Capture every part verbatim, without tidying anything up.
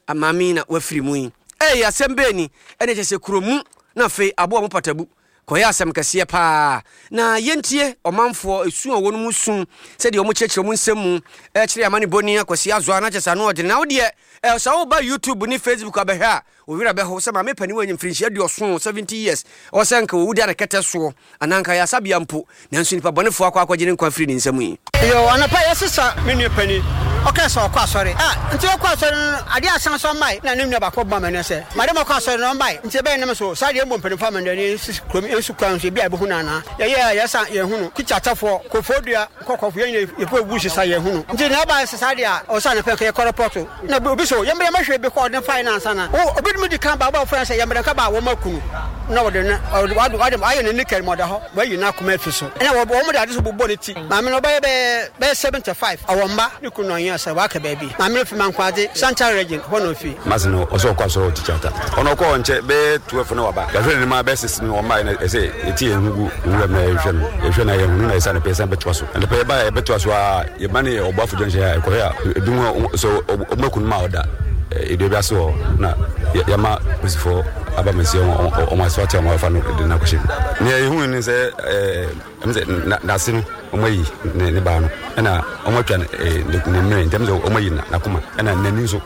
Maame na wafiri mu yi. Ei, asɛm bɛn ni? Ɛne kyɛ sɛ kuro mu na afei aboa mo patabu kɔyɛ asɛm kɛseɛ paa. Na yɛntie ɔmanfoɔ esu a wɔn mu su, sɛdeɛ wɔn kyerɛkyerɛ wɔn nsɛm mu ɛkyerɛ amane bɔni Akwasi Azoa na kyɛ sɛ ano ɔdene. Na wodeɛ ɛ sɛ woba YouTube ne Facebook abɛhwɛ a, wo werɛ bɛho sɛ maame panin wɔ mfirinhyia aduɔson, seventy years, ɔwɔ sɛ nka wɔwu da ne kɛtɛ soɔ anaa nka yɛ asabea mpo, nanso nipa bɔnefoɔ akɔ akɔgye ne nkwa afiri ne nsam yi. Yo, anɔpa yɛsesa me nua panin, ɔkaa sɛ ɔkɔ asɔre. Ah, nti ɔkɔ asɔre no, adeɛ asan so ɔmmae. Na ne nua baako bɔ amanneɛ sɛ, madam ɔkɔ asɔre no ɔmmae. Nti ɛbɛyɛ nam so, saa deɛ ɛmbɔ mpanimfoɔ amanneɛ ne yɛnsi kurom, yɛnsi kwan so, ebi a yɛbɛhu no anaa. Yɛyɛ a yɛsa yɛnhu no. Kukyatafoɔ, Kofoɔdua, Kɔkɔfo, yɛn nyinaa yɛkɔ ebu sesa yɛnhu no. Nti na ɛbae sɛ saa deɛ a, ɔsɛ anɔpa nka yɛkɔ rɛpɔto. Na obi so yɛmmra yɛmmɛhwɛ bi kɔ ɔde fae no ansa na o obi de di kan ba ɔba ɔfrɛ sɛ yɛmmra nka ba a wɔn aku no na wɔde no ɔde wɔde wɔde ayɛ ne nika mu ɔda hɔ wɔayi n'akoma afi so ɛna wɔ wɔn de ade so bobɔ ne ti. Maame no ɔbɛyɛ bɛyɛ bɛyɛ seventy five, ɔwɔ mma, ne kunu na ɔnyɛ sɛ waka baabi. Maame no fi Mankwade, Central Region hɔ na ofi. Mase no ɔsɛ ɔkɔ asɔrɔ ɔtikya ta ɔno ɔkɔ ɔnkyɛ bɛyɛ twelve na waba. Yɛhwɛ ne ma bɛyɛ six no ɔmma na ɛsɛ yɛti yɛn ho gu nwura mu na yɛhwɛ no yɛhwɛ na yɛhunu na yɛsa ne pɛ yɛsan bɛtoa so ɛnɛ pɛ yɛba yɛbɛtoa so a yɛba ne ɔboafo junction a ɛkɔhwɛ a ebi mu sɛ ɔmo akunu ma ɔda edua bi ase hɔ na yɛma polisifoɔ aba mɛsi ɔmo ase ɔte ɔmo afa no de no akɔhyɛ mu. Nea yɛhu ne sɛ ɛɛ ɛmu sɛ n'ase no ɔmo ayi ne ne baa no ɛna ɔmo atwa ne ne mmere ntɛm sɛ ɔmo ayi n'akoma ɛna n'ani nso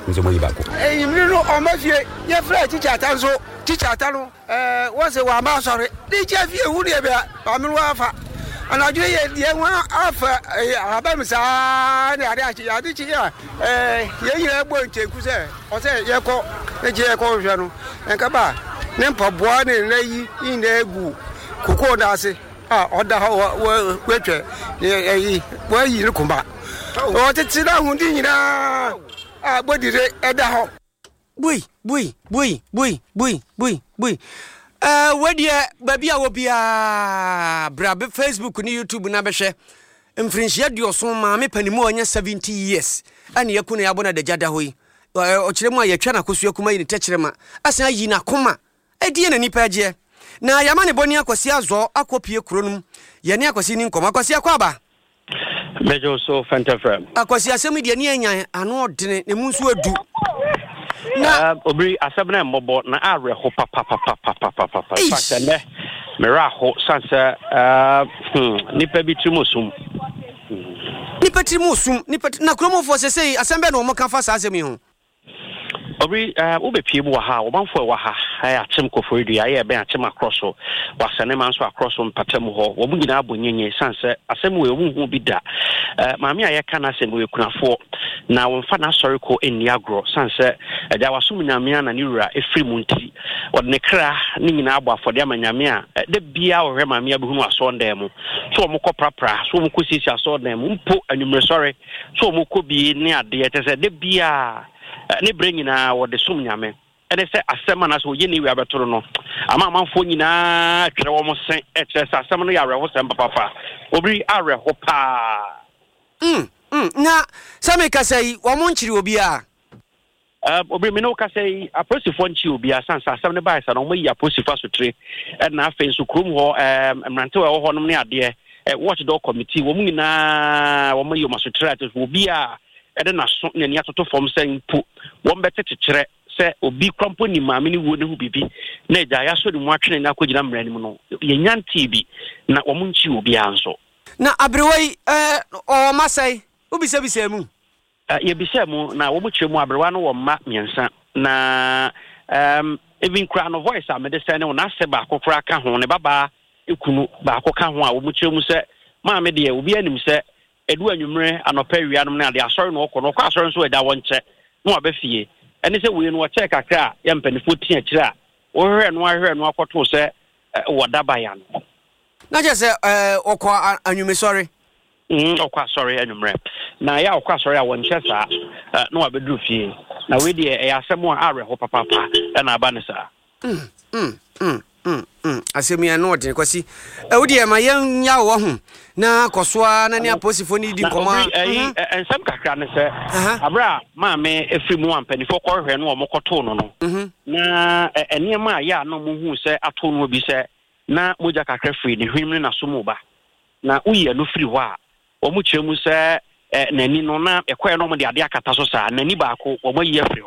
nso ɔmo ayi baako. Enyimire no ɔmo fie yɛfrɛ tikya ata nso tikya ata no ɛɛ wɔsɛ wɔama asɔre de kyɛ fie hu deɛ bia maame no wafa anadwo yɛ deɛ ho afa ɛyɛ abam saa ne ade akye ade kye a ɛɛ yɛn nyinaa bɔ nkyɛnku sɛ ɔsɛ yɛkɔ ne kye yɛkɔ hwehwɛ no nka ba ne mpaboa ne nna yi nyinaa gu kokoo no ase a ɔda hɔ wɔ wɔatwa ɛyi wɔayi ne koma ɔtete n'ahodi nyinaa a bɔdire ɛda hɔ. Bui bui bui bui bui bui bui. Ɛɛ wedeɛ baabi a wɔ biara bra Facebook ne YouTube na bɛhwɛ mfirinhyia aduɔson maame panimu a ɔnyɛ seventy years ɛne yɛku no yɛabɔ no adagya da hɔ yi. Ɔkyerɛ mu a yɛtwa n'akosua kuma yi ne tɛkyerɛma asan ayi n'akoma ɛdeɛ na nipa agyeɛ na yɛama ne bɔne Akwasi Azɔ akɔpie kuro no mu. Yɛne Akwasi ni nkɔmmɔ. Akwasi, akɔ aba. Mɛgye so fɛntɛfrɛ. Akwasi, asɛm yi deɛ ne anya ano ɔdene ne mu nso adu na obiri asɛm no mmɔbɔ na awerɛho papapapapapapa sɛ nnɛ merɛ aho sane sɛ nnipa bi tirim osum. Nipa tirim osum nipa na kuromofoɔ sɛ sɛi asɛm bɛɛ na wɔn ka fa saa asɛm yi ho? Obiri, wobɛpie mu wɔ ha a wɔmanfoɔ ɛwɔ ha ɛyɛ Akyem Koforidua, ɛyɛ ɛbɛn Akyem Akorɔ so wɔasɛne ma nso akorɔ so mpata mu hɔ wɔn nyinaa abɔ nyenye sane sɛ asɛm wei wɔn hu bi da. Maame a yɛka n'asɛm wei kunafoɔ na wɔmfa n'asɔre kɔ nni agorɔ sane sɛ agya wasom Nyame a na ne wura ɛfiri mu nti wɔde ne kra ne nyinaa abɔ afɔde ama Nyame a da biara wɔhwɛ maame abɛhunu asɔɔdan mu so wɔn kɔ prapra so wɔn kɔ siesie asɔɔdan mu mpo anwummerɛsɔre so wɔn kɔ bie ne adeɛ kyɛ sɛ da biara ne berɛ nyinaa wɔde som Nyame. Ɛne sɛ asɛm anaasɛ ɔyɛ ne wia bɛto no no ama amanfoɔ nyinaa twerɛ wɔn se ɛkyerɛ sɛ asɛm no yɛ awerɛhosɛm papapa. Obiri, awerɛho paa. mm, mm. Na sɛ mekasa yi wɔn nkyere obiara? Uh, obiri, me ne wo kasa yi apolisifoɔ nkye obiara sane sɛ asɛm no baeɛ sa no wɔmayi apolisifoɔ asotire ɛna afei nso kurom hɔ mmerantewa ɛwɔ hɔnom ne adeɛ watchdog committee wɔn nyinaa wɔmayi wɔn asotire a kyerɛ sɛ obiara ɛde n'aso n'ani atoto fam sɛ mpo wɔn bɛte kyekyerɛ sɛ obi kora mpo nim maame no wuo ne ho biribi na agya yɛasɔ ne mu atwene no akɔgyina mmara no mu no yɛnya ntee bi na wɔn nkyi obiara nso. Na aberewa yi ɔwɔ mma sɛe? Wobisabisa mu? Yɛbisa mu na wɔn kyerɛ mu aberewa no wɔ mma mmiɛnsa na um, even kura no voice a mede sɛn ne wo n'asɛ baako koraa ka ho, ne babaa ekunu baako ka ho a wɔn kyerɛ mu sɛ maame deɛ obi anim sɛ edu anwummerɛ anɔpɛ awia nom ne ade asɔre na ɔkɔ no ɔkɔ asɔre nso ɛda wɔn nkyɛ na waba fie. Ɛne sɛ wei no wɔkyɛɛ kakra a yɛ mpanimfoɔ tia akyire a wɔhwehwɛ no ahwehwɛ no akɔtoo sɛ wɔda baya no. Na kyerɛ sɛ ɔkɔ anwumesɔre? Ɔkɔ asɔre anwummerɛ na yɛ a ɔkɔ asɔre a wɔnkyɛ saa na wabɛduru fie. Na wei deɛ ɛyɛ asɛm a awerɛho papaapa ɛna aba ne saa. Asɛm yi ano ɔdene. Kwasi, ɛwo deɛ ma yɛnya wɔ ho na kɔ so a na ne apolisifoɔ no di nkɔmmɔ. A nsɛm kakra ne sɛ aberɛ a maame ɛfiri mu a mpanimfoɔ kɔhwehwɛ no ɔmo kɔtoo no no na nneɛma a yɛ a na ɔmo hu sɛ ato no bi sɛ na mogya kakra firi ne hwenem ne n'aso mu ba na woyi ɛno firi hɔ a wɔn kyerɛ mu sɛ n'ani no na ɛkɔɛ no wɔn de adeɛ akata so saa n'ani baako wɔn ayi afiri hɔ.